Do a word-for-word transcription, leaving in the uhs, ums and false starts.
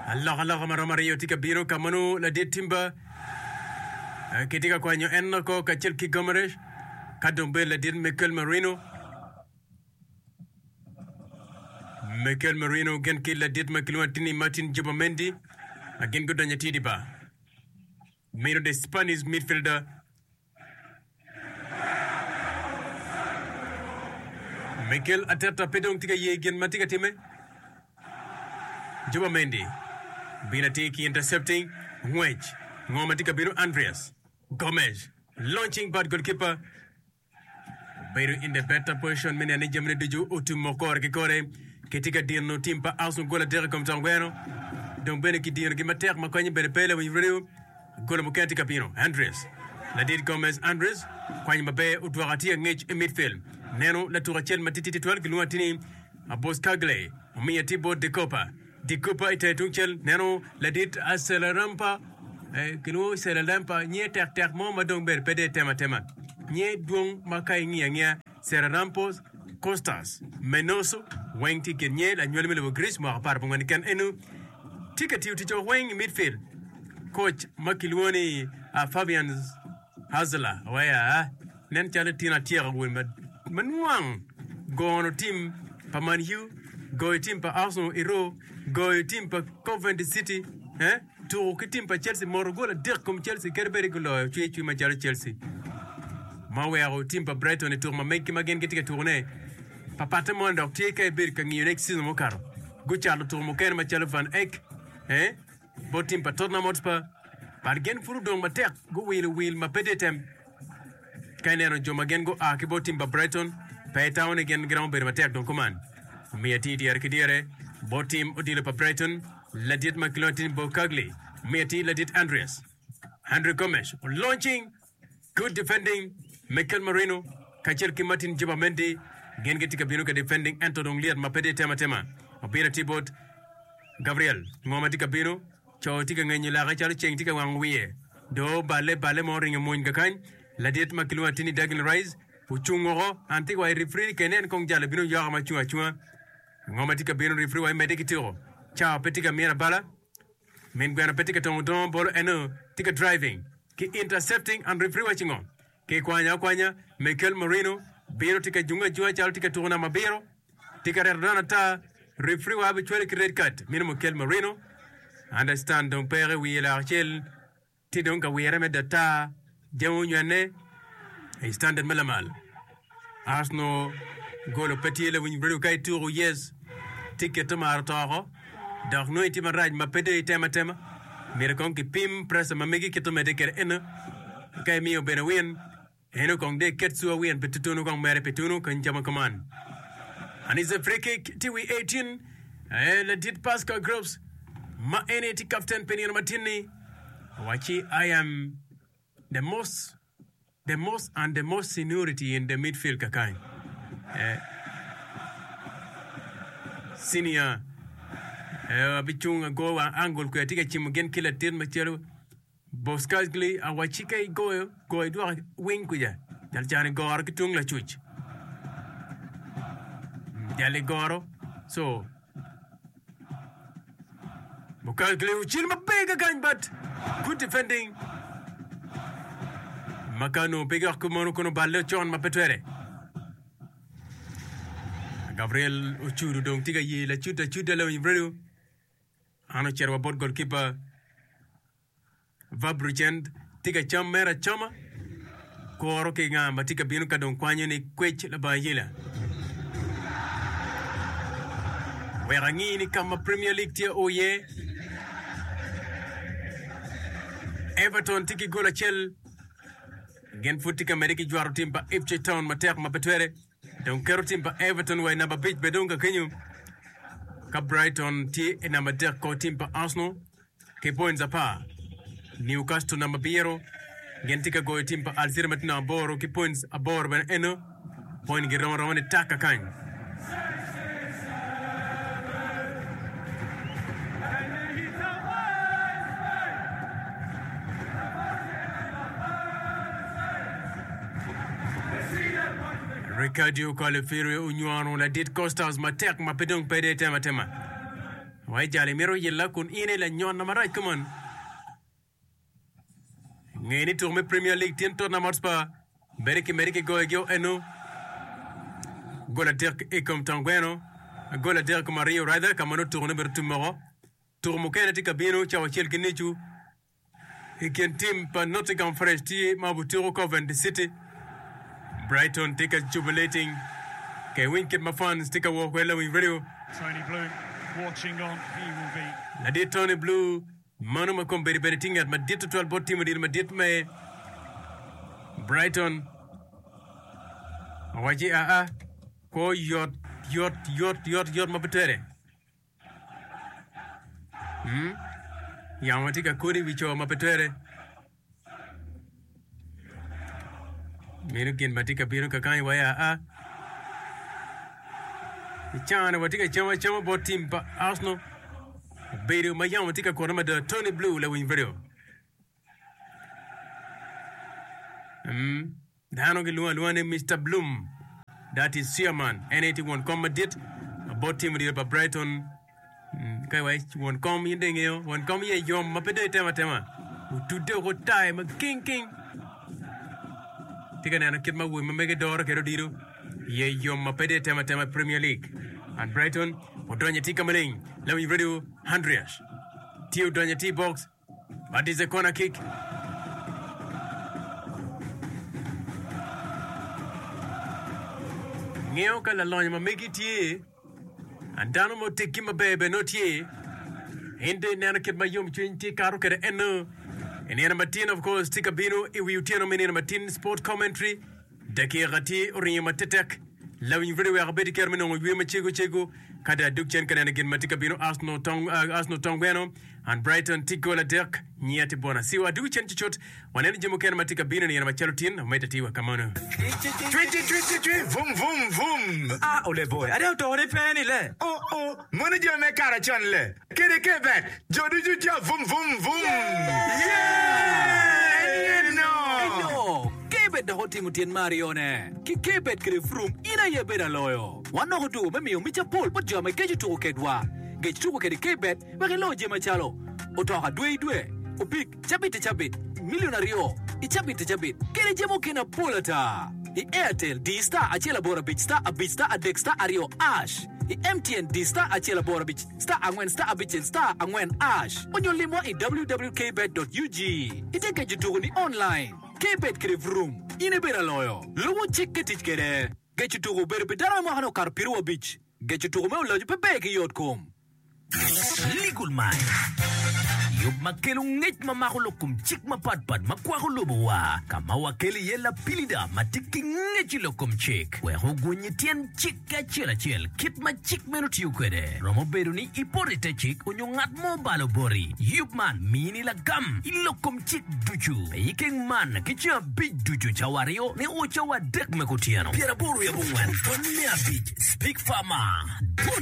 Alokaloka ma romo aryo tye ka bino ka ma nongo ladit Timber kitye ka kwanyo en oko kacel ki Gomeresh ka dong bedo ladit Mikel Merino. Mikel Merino gin ki ladit ma kilwongo atir ni Martin Jubamendi ma gin gudonyo atir i bar. Meno the Spanish midfielder Mikel Arteta pe dong tye ka ye gin ma tye ka timme. Jubamendi bino atir ki intercepting ngwec. Ngo ma tye ka bino Andreas Gomez launching bad goalkeeper Obedo in the better position me neno ni jamine ducu otumo kore ki kore. Kitye ka dino tim pa Arsenal gol adek i kom tong gweno. Dong bene kidinogi matek ma konye bene pe lawiny radio. Golo mukene tye ka bino. Andres. Ladit Gomez Andres kwanyo maber odwoko atir angec i midfield. Neno latuk acel matitidi twatwal kilwongo atir ni Boscagli omiyo atir bot De Copper. Di Cooper i tenge tungcel neno ladit Acelarampa, kilwongo Celarampa, nyinge tek tek mo ma dong bene pe dong etemo atema. Nyinge dwong ma ka ingiyo angiya Celarampos Kostas Menoso weng tye i kin nyinge lanywali me lobo Greece mwaka apar abongwen keken eno tye ka tiyo tic weng i midfield. Koc ma kilwongo ni Fabian Hurzeler oweya nen calo tyen atyeko wun ma nwang gono tim pa Man U, goyo tim pa Arsenal i row, goyo tim pa Coventry City, eh, tuko ki tim pa Chelsea, moto gol adek kom Chelsea kadi bed ni guloyo cwer cwiny macalo Chelsea ma oweko tim pa Brighton i tuko ma meggi ma gin gitye ka tukone papatte moni dok tye ka ibedo ka ngiyone ki season mukato gucato tuko mukene macalo Van Eck, eh, Bot tim pa Tottenham Hotspur, but gin pud odong matek guwilo wil ma pe tye tem. Ka ineno jo ma gin gua ki bot tim pa Brighton, pe itamo ni gin giromo bedo matek dong kuman. Omiyo atir dyere ki dyere bot tim odilo pa Brighton, ladit ma kilwongo atir ni Bocagley, omiyo atir ladit Andreas Andre Gomes launching good defending Mikel Merino kacel ki Martin Jubamendi gin gitye ka bino ka defending ento dong lyet ma pe tye tem atema obino atir bot Gabriel, ngo ma tye ka bino? Co tye ka ngenyo lake calo ceng tye ka wango wiye. Do balle balle mo oringo mony kakany. Ladit ma kilwongo atir ni Declan Rice ocung woko. An tye ka waco rifri ni kene en kong jalo bino yoka ma cung acunga. Ngo ma tye ka bino rifri wa imedde ki tuko. Cawa pe tye ka mito abala. Min gweno pe tye ka tongo dongo bolo eno tye ka driving ki intercepting and rifri waco ngo? Ki kwanyo akwanya Mikel Merino bino tye ka jungo ajunga calo tye ka tuko namba abiro. Tye ka reto dano ata, referee wa bicwale ki red card. Meno Mikel Merino. Understand dong peke wiye lok acel tye dong ka wire me data jami onywene i standard ma lamal. Arsenal golo pe tye lawiny radio ka ituku yes tye kete maro toko dok nongo itye marac ma pe dong itemo atema. Myero kong kipim pressure ma megi kite omedde kwede eno ka imiyo bene win. Eno kong de ket sua wien pi tutunu kong mere pi tunu kany cama kuman. And it's a free kick ti wi eighteen eh, ladit Pascal Groves ma en aye tye captain pi nino matin-ni owacci I am the most the most and the most seniority in the midfield kakany. Eh, senior eh, abicung ago wang angle kwe atye ka cimo gin ki latin macalo Boscagli awacci ka igoyo, go idwok wing kuca. Jal can igoro ki tung lacuc. Jal igoro. So, Boscagli ocil maber kakany but good defending. Ma ka onongo pe gok mono kono oballe ocon ma pe twere. Gabriel ocudo dong tye ka ye lacuda acuda lawiny radio. An ocito wa bot golkipa Verbruggen tye ka cam mere acama kuro ki nga ma tye ka bino ka dong kwanyo ni kwec labongo ayela. Wek angi ni ka ma Premier League tye o iye. Everton tye ki gol acel gin pud tye ka medde ki jwero tim pa Ipswich Town matek ma pe twere. Dong keto tim pa Everton wa i namba abic bene dong kakenyo ka Brighton tye i namba adek kor tim pa Arsenal ki points apar. Newcastle namba abiro gin tye ka goyo tim pa Hull City ma tye namba aboro ki points aboro bene eno point girom aroma ni tak kakany. Riccardo Calafiori onywano ladit Costas matek ma pe dong pede temo atema. Wai jali mito yilla kun in lanyon marac kuman. Nge ni tuko me Premier League tyen Tottenham Hotspur bede ki mede ki goyo gi eno. Gol adek i kom tongweno. Gol adek i kom aryo rather ka ma nongo tuko ne bedo tum moko. Tuko mukene tye ka bino cawa acel ki nucu i kin tim pa Nottingham Forest tye ma obutuko Coventry City. Brighton tye ka jubilating ke winy kit ma fans tye ka wok kwede lawiny radio. Tony Bloom watching on. He will be Ladit Tony Blue mano ma kombeddi bene tye ngat madit tutwal bot tim odilo madit me Brighton. Owaci aa kwo yot yot yot yot yot ma pe twere. Hmm? Yamo tye ka kodi i wi co ma pe twere. Meno gin ma tye ka bino kakany wa ya aa. I caa-ni watye ka cam acama bot tim pa Arsenal. Obedo ma yamo tye ka kuto mada. Tony Blue lawiny radio. Mm. Dano gilwongo alwonga ni Mister Bloom. That is chairman. En aye tye won kom madit bot tim odilo pa Brighton. Mm, ka iwaci won kom in dong ingeyo won kom iye yom ma pe dong itemo atema. Otudde woko otaye ma king king. Tye ka neno kit ma awobe ma mege doro kwede odilo. Iye yom ma pe dong itemo atema i Premier League. And Brighton odonyo atir ka maleng. Lawiny radio Andreas tye odonyo atir i box. But it's a corner kick. Ngeyo ka lalonyo ma megi tye, and dano ma oteggi maber bene nongo tye. In dong ineno kit ma yomcwiny tye kato kwede eno. I nino matin of course tye ka bino i wi otyeno me nino matin sport commentary. Dakika tye oringo matetek. Lawiny radio wek abed ki kero me nongo yweyo macego cego ka dong adog cen ka neno gin ma tye ka bino Arsenal tong Arsenal tong gweno and Brighton tye gol adek nyiya tye bona siwa adwogo cen cucut waneno jami mukene ma tye ka bino i nino macalo tin omedde atir wa kamano. Cwi cwi cwi cwi cwi vum vum vum. Ah ole boy, ade oto ni pe ni le. Oh oh, mono jo me kara con le. Kede ke bet, jo ducu ca vum vum vum. Yeah! En no. Eno, Kebet dok otimo tyen me aryone. Ki Kebet kede Vroom, in aye ibedo aloyo. Wan dok otuko me miyo mic apol bot jo ma geco tuko kedwa. Gec tuko kede Kebet wek ilo jami macalo, otoka dwe i dwe, opik cabit i cabit, milion aryo i cabit i cabit, kede jami mukene apol ata. I Airtel, di star acel aboro abic star abic star adek star aryo ash. I M T N, di star acel aboro abic star angwen star abicel star angwen ash. Onyo limwa i w w w dot kbet dot u g. Ite geco tuko ni online. Kbet kede Vroom, in ibedo aloyo. Lubo cik ke tic kede. Geco tuko obedo pi dano ma mwakane okato piero abic. Geco tuko me oloco pe ber ki yot kom. Legal Mind yub ma kelo ngec ma mako lok kom cik mapatpat ma kwako lobowa ka ma wakelo iye lapilida ma tye ki ngec i lok kom cik wek ogwony tyen cik ki acel acel kit ma cik meno tiyo kwede romo bedo ni ipoto i te cik onyo ngat mo balo boti yub man mini lagam i lok kom cik ducu i keng man ki ceng abic ducu cawa aryo ni o cawa adek me kutyeno pyeraboro wiye abongwen pwony me abic Speak Farmer.